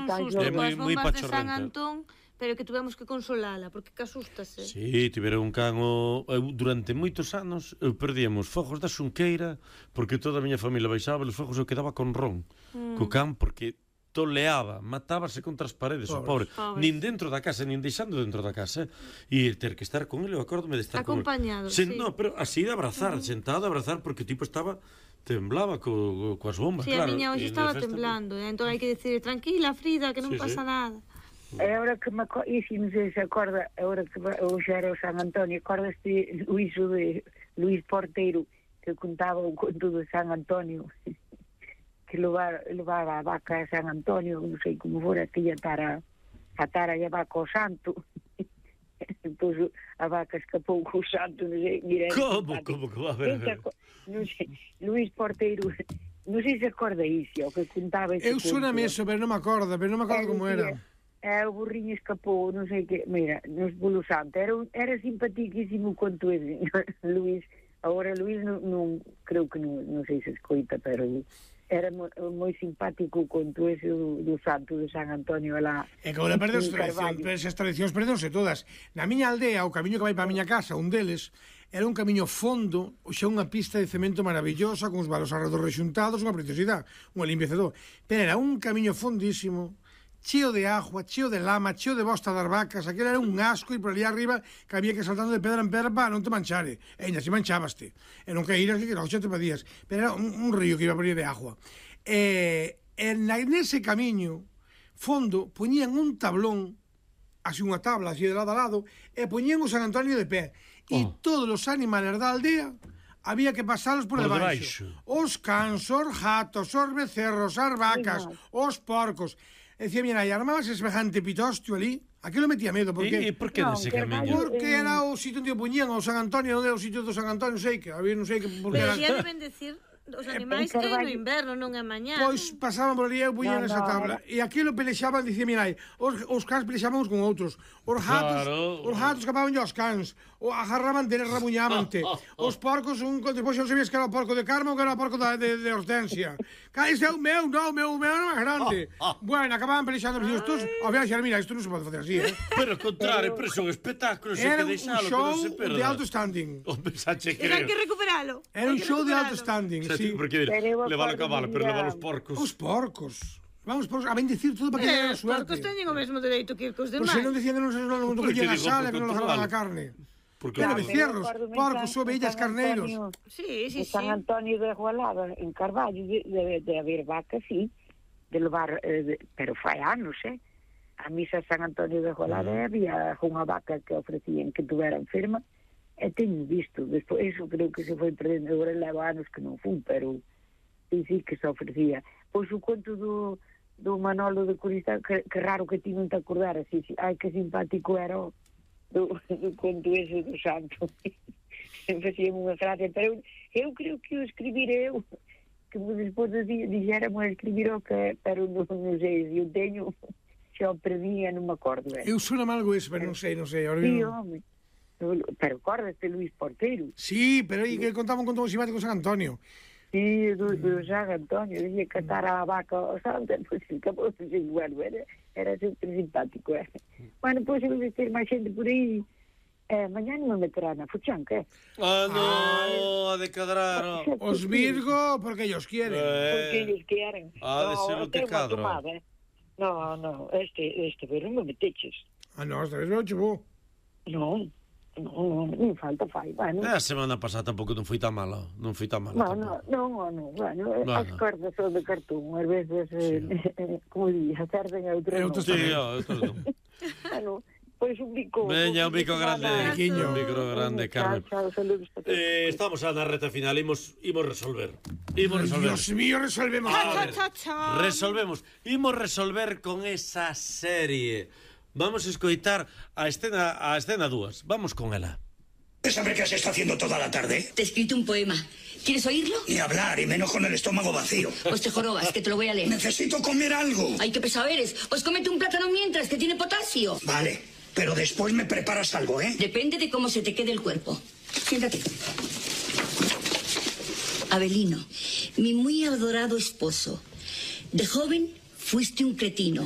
un susto coas bombas de San Antón, pero que tuvemos que consolala, porque que asústase. Sí, tiveron un can durante moitos anos, eu perdíamos fogos da Xunqueira, porque toda a miña familia baixaba os fogos, eu quedaba con ron, co can, porque toleaba, matábase contra as paredes, o pobre, nin dentro da casa, nin deixando dentro da casa, e ter que estar con ele, eu acórdome de estar acompañado, con ele. No, pero así de abrazar, sentado a abrazar, porque o tipo estaba... temblaba coas bombas, claro. Sí, a miña hoxe estaba temblando, entón hai que decir, tranquila, Frida, que non pasa nada. E agora que me acordo, e se non sei se acorda, agora que hoxe era o San Antonio, acordaste Luís Porteiro, que contaba o conto de San Antonio, que levaba a vaca a San Antonio, non sei como fora, que ia atara a vaca ao santo, entón a vaca escapou co santo, non sei, mira... Como que va a ver? Non sei, Luís Porteiro, non sei se acorda iso, que contaba ese conto. Eu soname eso, pero non me acordo como era. O burriño escapou, non sei que, mira, nos polo santo, era simpaticísimo conto ese, Luís. Agora Luís non creo que non sei se escoita, pero era moi simpático conto ese do santo de San Antonio lá. E que agora perdeu as tradicións, perdonse todas. Na miña aldea, o camiño que vai para a miña casa, un deles, era un camiño fondo, xa unha pista de cemento maravillosa, con os valos arredor rexuntados, unha preciosidade, un limpiecedor. Pero era un camiño fondísimo, cheo de agua, cheo de lama, cheo de bosta das vacas, aquel era un asco, e por ali arriba que había que saltando de pedra en pedra para non te manchare. E ainda se manchabaste. E non caíras que non xa te podías. Pero era un río que iba por ali de agua. Nese camiño fondo poñían un tablón, así unha tabla, así de lado a lado, e poñían o San Antonio de pé. E todos os animales da aldea había que pasalos por debaixo. Os cans, os gatos, os becerros, as vacas, os porcos. Decía, mira, e armabas semejante pitostio ali, aquilo metía medo, porque... E por que nese camiño? Porque era o sitio onde poñían o San Antonio, onde era o sitio do San Antonio, non sei que, había non sei que... Pero xa deben decir os animais que no inverno, non é mañá. Pois pasaban por ali e poñían esa tabla. E aquilo pelexaban, dicía, mira, os cans pelexaban uns con outros. Os gatos escapaban aos cans. Agarraban deles, rabuñábante. Os porcos, despois non sabías que era o porco de Carmo ou que era o porco de Hortensia. Ese é o meu, non, o meu era máis grande. Bueno, acababan pelexando, pero estos, ao viaxar, mira, isto non se pode facer así, Pero ao contrario, pero son espectáculos, era un show de alto standing. Era que recuperalo. Era un show de alto standing, sí. Porque levalo a cabalo, pero levalo os porcos. Os porcos. Vamos a bendecir todo para que haya suerte. Os porcos teñen o mesmo dereito que os demais. Por se non decían que non collían a sala, que non agarraban a carne. Pero becerros, porcos, ovellas, carneiros. Sí. San Antonio de Agualada, en Carballo, de haber vacas, sí, de levar, pero fai anos, a misa San Antonio de Agualada había unha vaca que ofrecían que tuvera enferma, e teño visto, despois, eso creo que se foi perdendo, agora leva anos que non fun, pero sí que se ofrecía. Pois o conto do Manolo de Corista, que raro que ti non te acordaras, ai, que simpático era do conto ese do santo. Facíamos unha gracia, pero eu creo que o escribiré eu, que despois dixéramos escribir o que, pero non sei, eu teño, xa o perdi e non me acordo. Eu sona algo eso, pero non sei. Sí, home. Pero acordaste Luís Porteiro? Sí, pero aí que contaba un conto moi simpático San Antonio. Sí, do San Antonio, dicía cantar a vaca ao santo, pois acabou de ser bueno, era super simpático. Bueno, pois eu vou ter máis xente por aí. Mañá non me meterá na fuchanca, no, a decadrar. Os Virgo, porque ellos quieren. Porque ellos quieren. De ser o decadro. No, este verón me meteches. No, esta vez non chegou. Non falta fai. Bueno. A semana pasada tampouco non foi tan malo. Non, bueno, as cordas son de cartón, ás veces, como dixas, acerden a outro non. Sí, outro non. Bueno, pois un bico... Veña, un bico grande. Un bico grande, Carmen. Saludos para todos. Estamos na reta final, imos resolver. Dios mío, resolvemos. Resolvemos. Imos resolver con esa serie. Vamos a escoitar a escena 2. Vamos con ela. ¿Sabe qué se está haciendo toda la tarde? Te he escrito un poema. ¿Quieres oírlo? Ni hablar, y menos con el estómago vacío. Pues te jorobas, que te lo voy a leer. Necesito comer algo. Ay, qué pesado eres. Pues cómete un plátano mientras, que tiene potasio. Vale, pero después me preparas algo, ¿eh? Depende de cómo se te quede el cuerpo. Siéntate. Abelino, mi muy adorado esposo. De joven fuiste un cretino.